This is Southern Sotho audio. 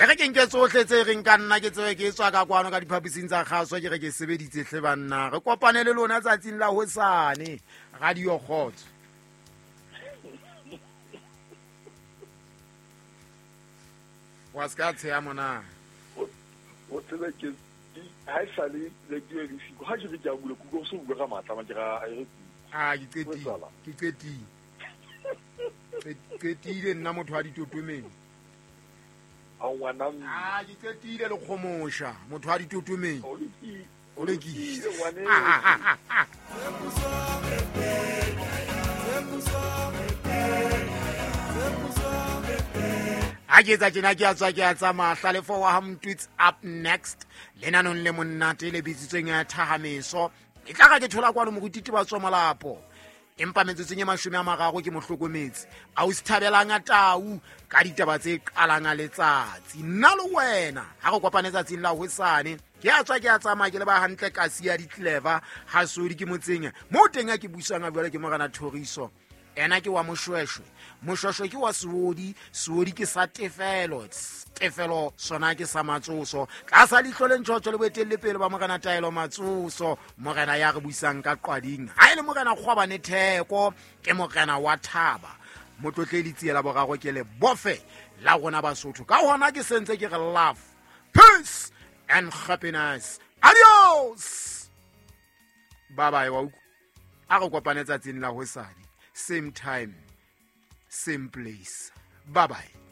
E re ke nke tsohle tse reng ka nna ke tsebe ke tswa ka kwano ka diphaposing tsa kgaso, ke re ke sebeditse hle banna. Re kopane le lona tsatsing la hosane. Radio Kgotso. Wa se ka tsheya mona. O tsebe ke ha e sale radio e le siko. Ha ke re ke a bula, ke utlwa o so bua ka matla, ma ke ra e re Ah, ke qetile. Ke qetile. Qetile nna motho wa ditotomeng. A ngwana mme. Ah, ke qetile le kgomosha motho wa ditotomeng. O lokile. O lokile. Ngwane. Ha ke etsa tjena ke a tswa ke a tsamaya. Hlalefo wa ha Mtwits up next. Lenanong le monate le bitsitsweng ya Thahameso. E tla ka ke thola kwano moruti Tebatso Molapo. Empa metsotsong e 30 ke mohlokometse. A o sithabelang a tau ka ditaba tse qalang a letsatsi. Nna le wena ha re kopane tsatsing la hosane. Ke a tswa ke a tsamaya ke le ba hantle kasi ya di-clever. Ha sodi ke motseng. Moo teng a ke buisang a jwale ke Morena Thoriso. Ena ke wa Moshweshwe. Moshweshwe ke wa Seodi. Seodi ke sa Tefelo. Tefelo sona ke sa Matsoso. Tlasa leihlo le ntjhotjho le boetelle pele ba Morena Taelo Matsoso. Morena ya re buisang ka qwading. Ha e le Morena Kgwabane Theko, ke Morena wa Thaba. Motlotle le tsiela boraro ke le bofe la rona Basotho. Ka hona ke sentse ke re love, peace and happiness. Adios. Bye bye wa utlwa. A re kopane tsatsing la hosane. Same time, same place. Bye bye.